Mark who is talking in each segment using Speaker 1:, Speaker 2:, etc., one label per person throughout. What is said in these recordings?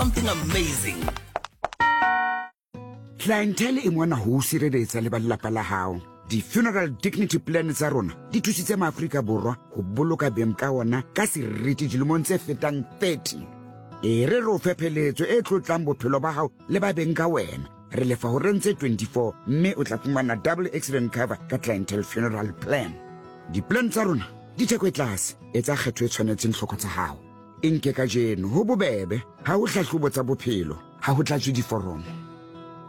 Speaker 1: Something amazing.
Speaker 2: Clientele e mona ho o sireletsa le ba lelapa la hao. Di-funeral dignity plan tsa rona di thusitse maAfrika Borwa ho boloka beng ka ona ka seriti dilemong tse fetang 30. E re re o fe pheletso e tlotlang bophelo ba hao le ba beng ka wena. Re lefa horeng tse 24 mme o tla fumana double accident cover ka Clientele Funeral Plan. Di-plan tsa rona di theko e tlase, etsa kgetho e tshwanetseng tlhoko tsa hao. E nke kajeno, ho bobebe, ha ho hlahlobo tsa bophelo, ha ho tlatswe diforomo.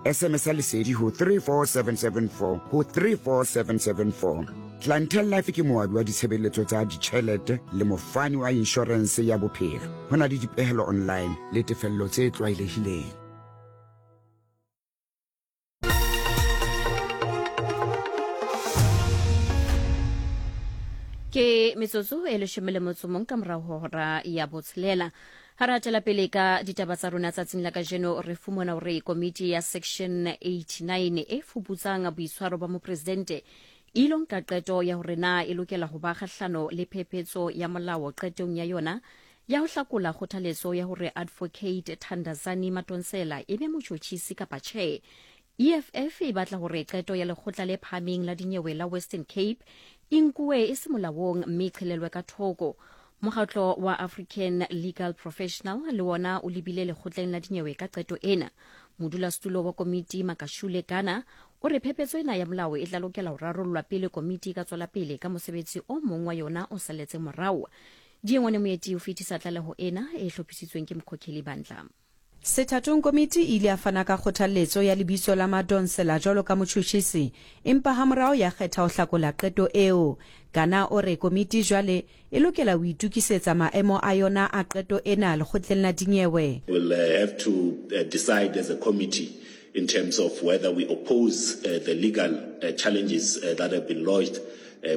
Speaker 2: SMS ya Lesedi ho 34774 ho 34774. Clientele Life ke moabi wa ditshebeletso tsa ditjhelete le mofani wa inshorense ya bophelo. Ho na le dipehelo online le tefello tse tlwaelehileng.
Speaker 3: Ke metsotso e leshome le motso mong ka morago ho hora ya botshelela. Ha re hatela pele ka ditaba tsa rona tsatsing la kajeno, re fumana hore komiti ya Section 89 e fuputsang boitshwaro ba mopresidente e ilo nka qeto ya hore na e lokela ho ba kgahlano le phephetso ya molao qetong ya yona ya ho hlakola kgothaletso ya hore Advocate Thandazani Madonsela e be motjhotjhisi kapa tjhe. EFF e batla hore qeto ya lekgotla le phahameng la dinyewe la Western Cape e nkuwe e se molaong mme e qhelelwe ka thoko. Mokgatlo wa African Legal Professional le wona o lebile lekgotleng la dinyewe ka qeto ena. Modulasetulo wa komiti Makashule Gana o re phephetso ena ya molao e tla lokela ho rarollwa pele komiti e ka tswela pele ka mosebetsi o mong wa yona o saletseng morao. Diengwane Moeti o fetisa tlaleho ena e hlophisitsweng ke Mkhokheli Bandla.
Speaker 4: Sethatong komiti e ile ya fana ka kgothalletso ya lebitso la Madonsela jwalo ka motjhutjhisi, empa hamorao ya kgetha ho hlakola qeto eo. Gana o re komiti jwale e lokela ho itokisetsa maemo a yona a qeto ena lekgotleng la dinyewe.
Speaker 5: We'll have to decide as a committee in terms of whether we oppose the legal challenges that have been lodged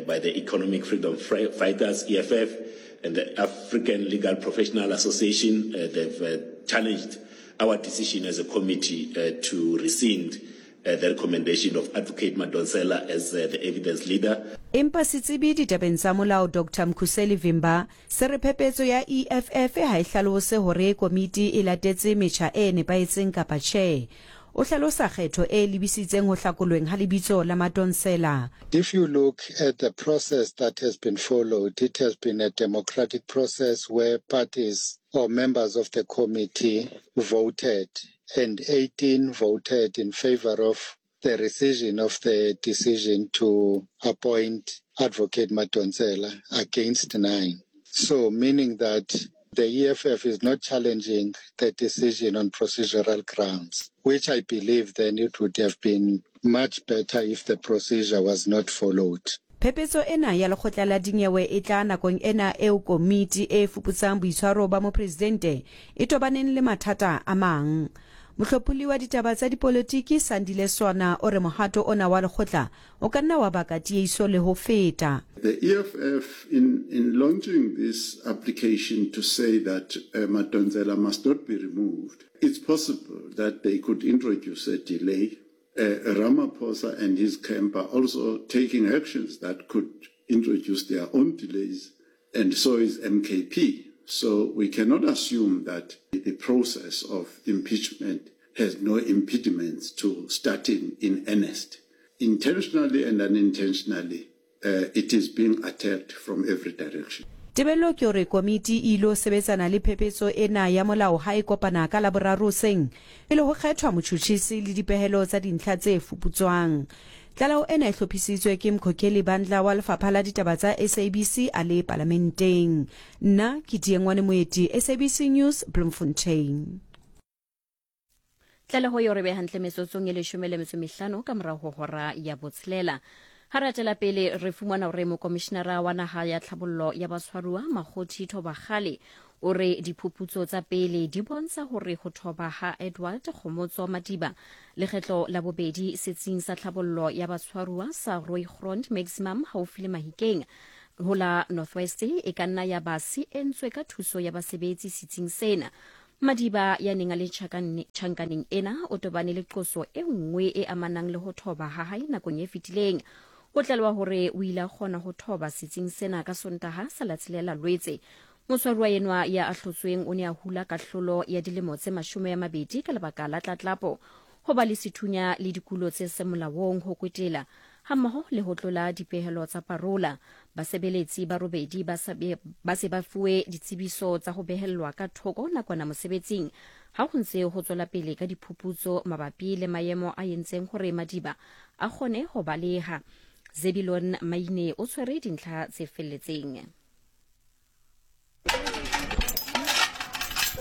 Speaker 5: by the Economic Freedom Fighters, EFF, and the African Legal Professional Association. They've challenged our decision as a committee to rescind the recommendation of Advocate Madonsela as the evidence leader.
Speaker 4: Empa setsebi ditabeng tsa molao Doctor Mkhuseli Vimba se re phepetso ya EFF ha e hlalose hore komiti e latetse metjha e nepahetseng kapa tjhe. O hlalosa kgetho e lebisitseng ho hlakolweng ha lebitso la Madonsela.
Speaker 6: If you look at the process that has been followed, it has been a democratic process where parties or members of the committee voted and 18 voted in favor of the rescission of the decision to appoint Advocate Madonsela against 9. So meaning that the EFF is not challenging the decision on procedural grounds, which I believe then it would have been much better if the procedure was not followed.
Speaker 4: Phephetso ena ya lekgotla la dinyewe e tla nakong ena eo komiti e fuputsang boitshwaro ba mopresidente e tobaneng le mathata a mang. Mohlopholli wa ditaba tsa dipolotiki Sandile Swana o re mohato ona wa lekgotla o ka nna wa baka tieiso le ho feta.
Speaker 7: The EFF in, in launching this application to say that uh, Madonsela must not be removed, it's possible that they could introduce a delay. Uh, Ramaphosa and his camp are also taking actions that could introduce their own delays, and so is MKP. So we cannot assume that the process of impeachment has no impediments to starting in earnest. Intentionally and unintentionally, uh, it is being attacked from every direction.
Speaker 4: Tebello ke hore komiti e ilo sebetsana le phephetso ena ya molao ha e kopana ka Laboraro hoseng pele ho kgethwa motjhutjhisi le dipehelo tsa dintlha tse fuputswang. Tlaleho ena e hlophisitswe ke Mkhokheli Bandla wa Lefapha la Ditaba tsa SABC a le Palamenteng. Nna ke Diengwane Moeti, SABC News, Bloemfontein.
Speaker 3: Tlaleho eo re be hantle metsotsong e leshome le metso mehlano ka morago ho hora ya botshelela. Ha re atela pele re fumana hore mokomishinara wa naha ya tlhabollo ya batshwaruwa Makgothi Thobakgale o re diphuputso tsa pele di bontsha hore ho thoba ha Edward Kgomotso Madiba lekgetlo la bobedi setsing sa tlhabollo ya batshwaruwa sa Rooigrond Maximum haufi le Mahikeng ho la Northwest e ka nna ya ba se entswe ka thuso ya basebetsi setsing sena. Madiba ya neng a le tjhankaneng ena o tobane le qoso e nngwe e amanang le ho thoba ha hae nakong e fetileng. Ho tlalewa hore o ile a kgona ho thoba setsing sena ka Sontaha sa la tshelela Lwetse. Motshwaruwa enwa ya ahlotsweng o ne a hula kahlolo ya dilemo tse 20 ka lebaka la tlatlapo, ho ba le sethunya le dikulo tse seng molaong, ho kwetela, hammoho le ho tlola dipehelo tsa parola. Basebeletsi ba robedi ba ba se ba fuwe ditsebiso tsa ho behellwa ka thoko nakwana mosebetsing ha ho ntse ho tswela pele ka diphuputso mabapi le maemo a entseng hore Madiba a kgone ho baleha. Zebilon Maine o tshwere dintlha tse felletseng.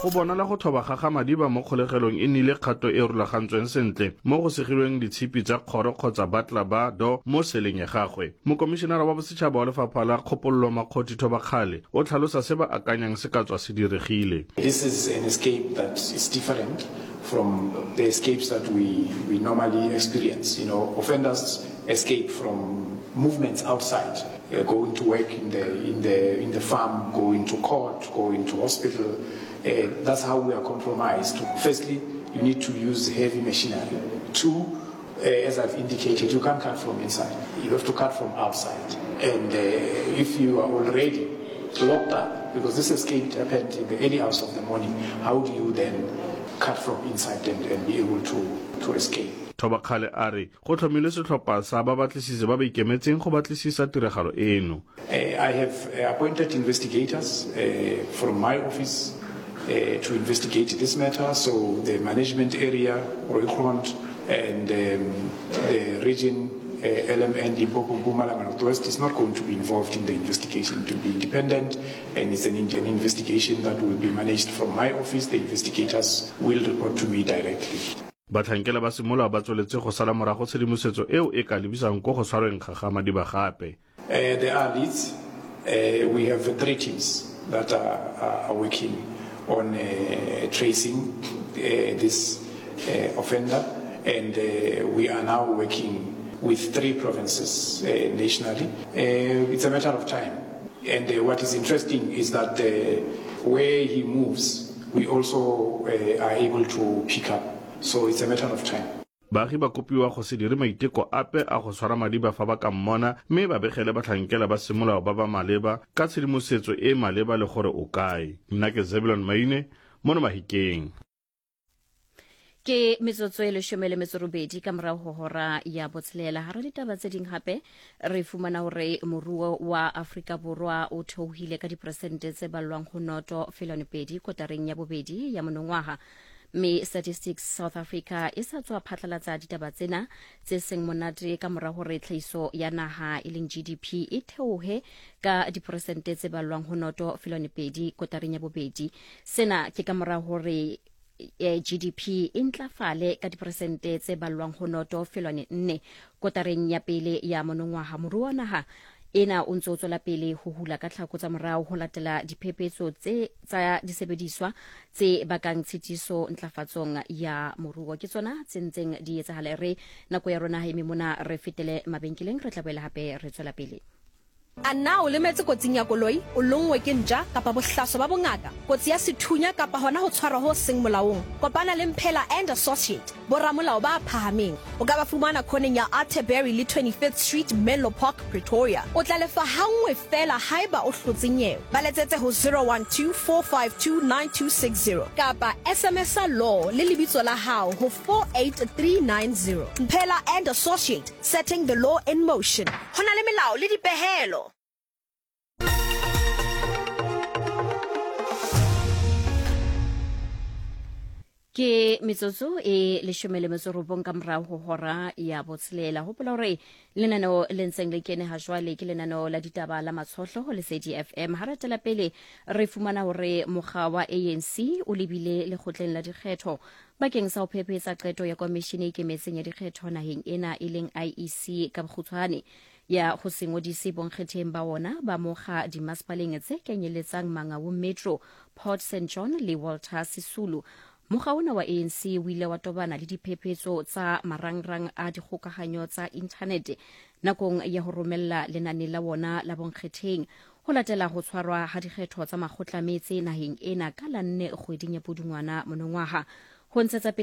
Speaker 1: Go bonala go thoba ga ga Madiba mo kgolegelong e nnile kgato e e rulagantsweng sentle mo go segilweng ditshipi tsa kgoro kgotsa batla ba do mo seleng ya gagwe. Mokomišenara wa Bosetšhaba wa Lefapha la Kgopololo Makgothi Thobakgale o tlhalosa se ba akanyang se ka tswa se diregile.
Speaker 8: This is an escape that is different from the escapes that we, we normally experience. You know, offenders escape from movements outside, uh, going to work in the, in the, in the farm, going to court, going to hospital. Uh, that's how we are compromised. Firstly, you need to use heavy machinery. Two, uh, as I've indicated, you can't cut from inside. You have to cut from outside. And uh, if you are already locked up, because this escape happened in the early hours of the morning, how do you then cut from inside and, and be able to, to escape?
Speaker 1: Thobakgale a re go tlhomilwe setlhopha sa babatlisisi ba ba ikemetseng go batlisisa tiragalo eno.
Speaker 8: I have appointed investigators from my office to investigate this matter, so the management area, Rooigrond, and the region, LMN, Limpopo, Mpumalanga, Northwest, is not going to be involved in the investigation. It will be independent, and it's an, an investigation that will be managed from my office. The investigators will report to me directly.
Speaker 1: Batlhankela ba semolao ba tsweletse go sala morago tshedimosetso eo e ka lebisang ko go tshwarweng ga ga Madiba gape.
Speaker 8: Uh, there are leads. Uh, we have three teams that are, are, are working on uh, tracing uh, this uh, offender, and uh, we are now working with three provinces uh, nationally. Uh, it's a matter of time. And uh, what is interesting is that uh, where he moves, we also uh, are able to pick up. So it's a matter of time.
Speaker 1: Baagi ba kopiwa go se dire maiteko ape a go tshwara Madiba fa ba ka mmona mme ba begele batlhankela ba semolao ba ba maleba ka tshedimosetso e e maleba le gore o kae. Nna ke Zebulon Maine, mono Mahikeng.
Speaker 3: Ke metsotso e leshome le metso robedi ka morago ho hora ya botshelela. Hara ditaba tse ding hape re fumana hore moruo wa Afrika Borwa o theohile ka diperesente tse ballwang ho 0.2 kotareng ya bobedi ya monongwaha, mme Statistics South Africa e sa tswa phatlalatsa ditaba tsena tse seng monate ka mora hore tlhahiso ya naha e leng GDP e theohe ka diperesente tse ballwang ho 0.2 kotareng ya bobedi. Sena ke ka mora hore GDP e ntlafale ka diperesente tse ballwang ho 0.4 kotareng ya pele ya monongwaha. Moruo wa naha ena o ntse o tswela pele ho hula ka tlhako tsa morao ho latela diphephetso tse tsa disebediswa tse bakang tshitiso ntlafatsong ya moruo. Ke tsona tse ntseng di etsahala. Re nako ya rona ha eme mona, re fetele mabenkeleng, re tla boela hape re tswela pele.
Speaker 9: A na o lemetse kotsing ya koloi, o lonngwe ke ntja kapa bohlaswa ba bongaka, kotsi ya sethunya kapa hona ho tshwarwa ho seng molaong? Kopana le Mphela and Associate, boramolao ba phahameng. O ka ba fumana khoneng ya Atterbury le 25th Street, Menlo Park, Pretoria. O tla lefa hanngwe feela haeba o hlotse nyewe. Ba letsetse ho 012-452-9260 kapa SMS-a law le lebitso la hao ho 48390. Mphela and Associate, setting the law in motion. Ho na le melao le dipehelo.
Speaker 3: Ke metsotso e leshome le metso robong ka morago ho hora ya botshelela. Hopola hore lenaneo le ntseng le kene ha jwale ke lenaneo la ditaba la Matshohlo ho Lesedi FM. Ha re tela pele re fumana hore mokga wa ANC o lebile lekgotleng la dikgetho bakeng sa ho phephetsa qeto ya komishene e ikemetseng ya dikgetho naheng ena e leng IEC ka bokgutshwane ya ho se ngodise bonkgetheng ba wona ba mokga dimasepaleng tse kenyeletsang Mangaung Metro, Port St John le Walter Sisulu. Mokga ona wa ANC o ile wa tobana le diphephetso tsa marangrang a dikgokahanyo tsa inthanete nakong ya ho romella lenane la wona la bonkgetheng ho latela ho tshwarwa ha dikgetho tsa makgotla metse naheng ena ka la nne kgweding ya Pudungwana monongwaha. Ho ntshetsa pele